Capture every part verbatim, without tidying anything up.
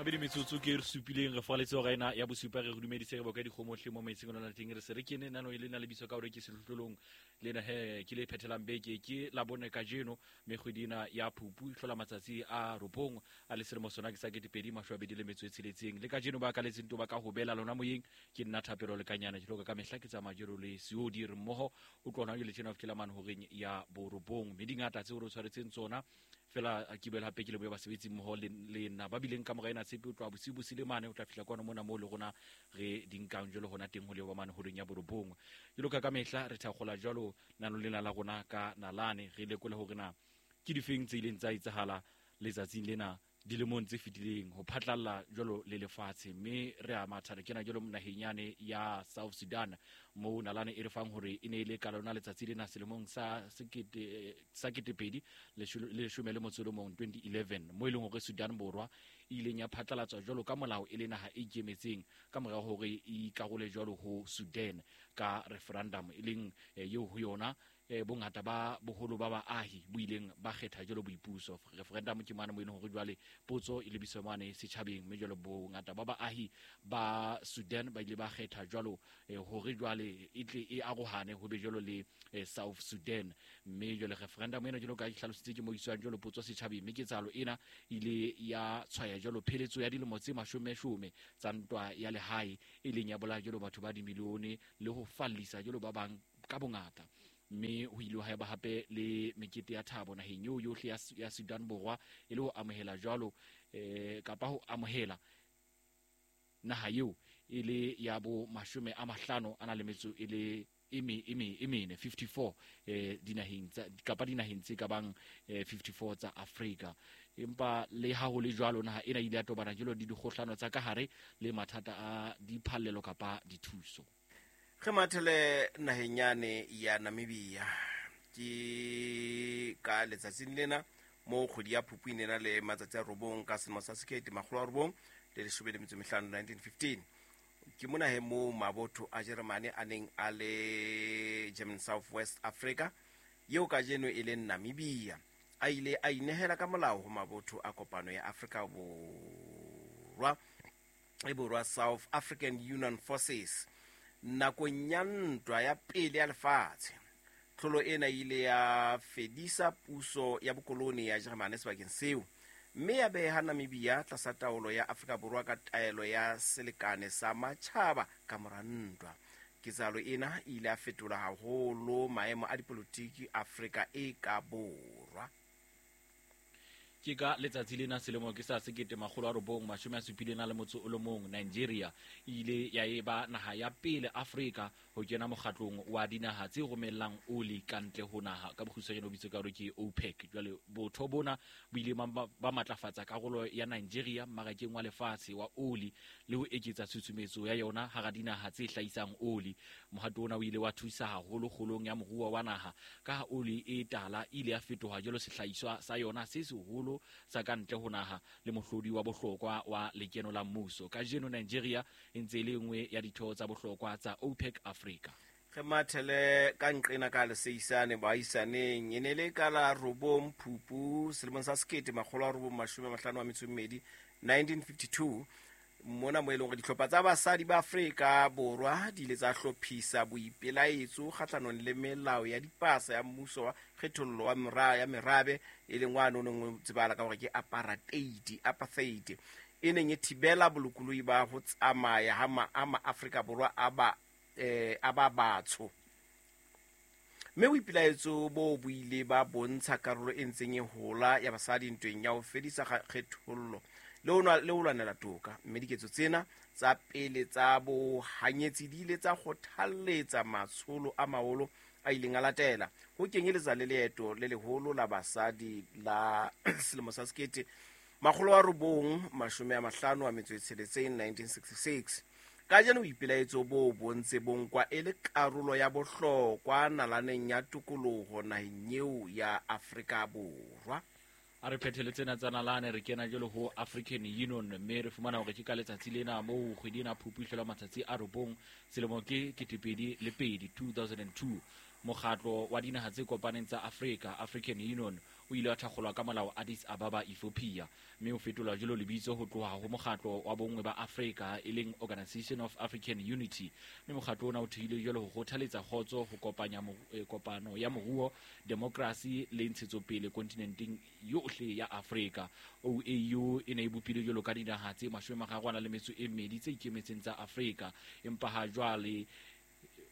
Mabedi metsotso ke re supileng re faletse hora ena ya bosupa. Re dumedise re boka dikgomohle mo maitseng lona teng. Re se re kene nano e le na le bitso ka hore ke sehlohlolong lena he ke le phethelang beke ke la bone kajeno, mme kgwedi ena ya Phupu e hlola matsatsi a robong a le selemo sona ke sa ketepedi mashome a mabedi le metso e tsheletseng. Le kajeno ba kaletseng to ba ka hobela lona moyeng ke nna Thapelo Lekanyana ke hloka ka mehla ke tsamaya jelo le Seodi re mmoho o tlohana jele tjena ho fihlela mane horeng ya borobong, mme dingata tseo re tshwaretseng tsona fela ke boela hape ke lebohe basebetsi mmoho le le nna ba bileng ka mora ena tshepe o tloha bosiu bo sile mane o tla fihla kwano mona moo le rona re di nkang jwalo hona teng ho leba mane horeng ya borobong. Jwalo ka ka mehla re thakgola jwalo nano lena la rona ka nalane re lekole hore na ke difeng tse ileng tsa etsahala letsatsing lena dilemong tse fetileng ho phatlalla jwalo le lefatshe, mme re a matha re kena jwalo naheng yane ya South Sudan moo nalane e re fang hore e ne e le ka lona letsatsi lena selemong sa sekete sa ketepedi le leshome le motso o le mong twenty eleven mo e leng hore Sudan Borwa e ileng ya phatlalatswa jwalo ka molao e le naha e ikemetseng ka mora hore e ikarole jwalo ho Sudan ka referendum e leng eo ho yona bongata ba boholo ba baahi bo ileng ba kgetha jwalo boipuso. Referendum ke mane mo e leng hore jwale potso e lebiswa mane setjhabeng, mme jwalo bongata ba baahi ba Sudan ba ile ba kgetha jwalo hore jwale e tle e arohane ho be jwalo le South Sudan. Mme jwale referendum ena jwalo ka ke hlalositse ke mo iswang jwalo potso setjhabeng, mme ketsahalo ena ile ya tshwaya jwalo pheletso ya dilemo tse mashomeshome tsa ntwa ya lehae e leng ya bolaya jwalo batho ba dimilione le ho fallisa jwalo ba bang ka bongata. Mme ho ile ha eba hape le mekete ya thabo naheng eo yohle ya, ya Sudan Borwa e le ho amohela jwalo eh, kapa ho amohela naha eo e le ya bo mashome a mahlano a na le metso e le e me e me e mene fifty-four eh dinaheng tsa kapa dinaheng tse ka bang eh, fifty-four tsa Afrika. Empa le ha ho le jwalo naha ena ile ya tobana jwalo le dikgohlano tsa ka hare le mathata a diphallelo kapa dithuso. Re mathele naheng yane ya Namibia ke ka letsatsing lena mo kgwedi ya Phupu e ne na le matsatsi a robong ka selemo sa sekete makgolo a robong le leshome le metso e mehlano nineteen fifteen. Ke mona he moo mabotho a Jeremane a neng a le German South West Africa eo kajeno e leng Namibia a ile a inehela ka molao ho mabotho a kopano ya Afrika Borwa e Borwa South African Union Forces nakong ya ntwa ya pele ya lefatshe. Tlholo ena e ile ya fedisa puso ya bokoloni ya Jeremane sebakeng seo, mme ya beha Namibia tlasa taolo ya Afrika Borwa ka taelo ya selekane sa matjhaba ka mora ntwa. Ketsahalo ena e ile ya fetola haholo maemo a dipolotiki Afrika e ka Borwa. Ke ka letsatsi lena selemo ke sa sekete makgolo a robong mashome a supileng a le motso o le mong Nigeria e ile ya eba naha ya pele Afrika ho kena mokgatlong wa dinaha tse romellang oli ka ntle ho naha ka bokgutshwanyane o bitswe ka hore ke OPEC. Jwale botho bona bo ile ba matlafatsa karolo ya Nigeria mmarakeng wa lefatshe wa oli le ho eketsa tshusumetso ya yona hara dinaha tse hlahisang oli. Mohato ona o ile wa thusa haholo kgolong ya moruo wa naha ka ha oli e tala e ile ya fetoha jwalo sehlahiswa sa yona se seholo sa ka ntle ho naha le mohlodi wa bohlokwa wa lekeno la mmuso. Kajeno Nigeria e ntse e le nngwe ya ditho tsa bohlokwa tsa OPEC Africa. Re mathele ka nqena ka leseisane baahisaneng e ne le ka la robong Phupu selemong sa sekete makgolo a robong mashome a mahlano a metso e mmedi nineteen fifty-two mona mo e leng hore dihlopha tsa basadi ba Afrika Borwa di ile tsa hlophisa boipelaetso kgahlanong le melao ya dipasa ya mmuso wa kgethollo wa mera ya merabe e leng wa no neng o tsebahala ka hore ke apartheid apartheid e neng e thibela bolokolohi ba ho tsamaya ha ma a ma-Afrika Borwa a ba eh a ba batsho. Mme boipelaetso bo bo ile ba bontsha karolo e ntseng e hola ya basadi ntweng ya ho fedisa kgethollo le ho le ho lwanela toka. Mme diketso tsena tsa pele tsa bohanyetsi di ile tsa kgothalletsa matsholo a maholo a ileng a latela ho kenyeletsa le leeto le leholo la basadi la selemo sa sekete makgolo a robong mashome a mahlano a metso e tsheletseng nineteen sixty-six. Kajeno boipelaetso bo bo ntse bo nkwa e le karolo ya bohlokwa nalaneng ya tokoloho naheng eo ya Afrika Borwa. A re phethele tsena tsa nalane re kena jwalo ho African Union, mme re fumana hore ke ka letsatsi lena moo kgwedi ena Phupu e hlola matsatsi a robong selemo ke ketepedi le pedi two thousand and two mokgatlo wa dinaha tse kopaneng tsa Afrika African Union o ile wa thakgolwa ka molao Addis Ababa, Ethiopia, mme o fetolwa jwalo lebitso ho tloha ho mokgatlo wa bonngwe ba Afrika e leng Organization of African Unity. Mme mokgatlo ona o thehilwe jwalo ho kgothaletsa kgotso, ho kopanya kopano ya moruo, demokrasi le ntshetsopele kontinenteng yohle ya Afrika. O A U e ne e bopilwe jwalo ka dinaha tse mashome a mararo a nang le metso e mmedi tse ikemetseng tsa Afrika, empa ha jwale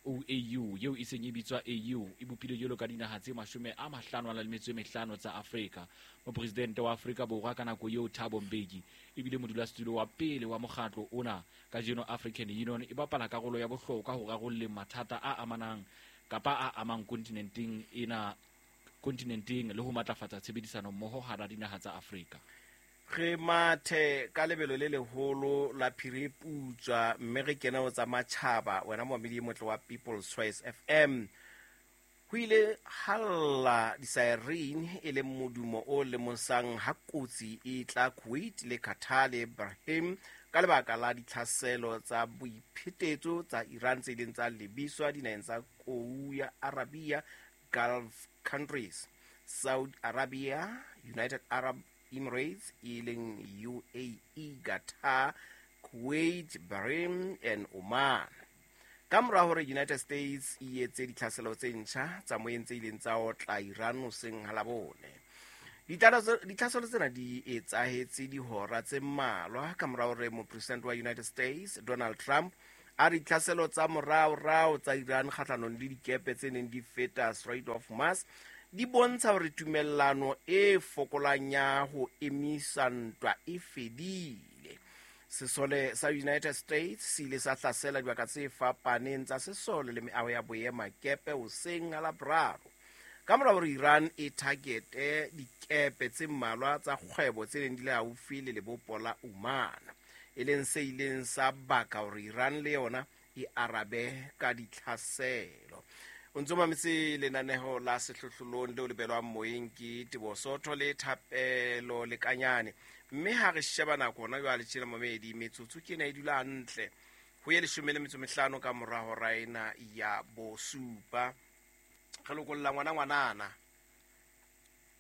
O A U eo e seng e bitswa A U e bopilwe jwalo ka dinaha tse mashome a mahlano a nang le metso e mehlano tsa Afrika. Mopresidente wa Afrika Borwa ka nako eo Thabo Mbeki ebile modulasetulo wa pele wa mokgatlo ona. Kajeno African Union e bapala karolo ya bohlokwa ho rarolleng mathata a amanang kapa a amang kontinenteng ena kontinenteng le ho matlafatsa tshebedisano mmoho hara dinaha tsa Afrika. Re mathe ka lebelo le leholo la phiri putswa mme re kena ho tsa matjhaba wena momamedi e motle wa People's Choice F M. Ho ile halla di-siren e leng modumo o lemosang ha kotsi e tla Kuwait le Qatar le Bahrain ka lebaka la ditlhaselo tsa boiphetetso tsa Iran tse ileng tsa lebiswa dinaheng tsa Kou ya Arabia, Gulf countries, Saudi Arabia, United Arab Emirates e leng U A E, Qatar, Kuwait, Bahrain and Oman. Ka mora hore United States e etse ditlhaselo tse ntjha tsa moyeng tse ileng tsa otla Iran hoseng ha Labone. Ditlhaselo tsena di etsahetse dihora tse mmalwa ka mora hore mopresidente wa United States Donald Trump a re ditlhaselo tsa moraorao tsa Iran kgahlanong le dikepe tse neng di feta Strait of Hormuz di bontsha hore tumellano e fokolang ya ho emisa ntwa e fedile. Sesole sa United States se ile sa hlasela dibaka tse fapaneng tsa sesole le meaho ya boemakepe hoseng ha Laboraro. Ka mora hore Iran e targete dikepe tse mmalwa tsa kgwebo tse neng di le haufi le lebopo la Oman, e leng se ileng sa baka hore Iran le yona e arabe ka ditlhaselo. O ntso mametse lenaneho la sehlohlolong leo le belwang moyeng ke Teboho Sotho le Thapelo Lekanyane. Mme ha re sheba nako hona jwale tjena momedi, metsotso ke ena e dula hantle ho ye leshome le metso mehlano ka mora hora ena ya bosupa. Re lokolla ngwana ngwanana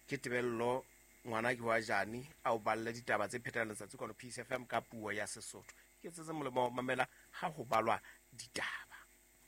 ke Tebello, ngwana ke wa Jani, a o balle ditaba tse phetelang letsatsi kwano Peace F M ka puo ya Sesotho. Ke tsetse molemo wa ho mamela ha ho balwa ditaba.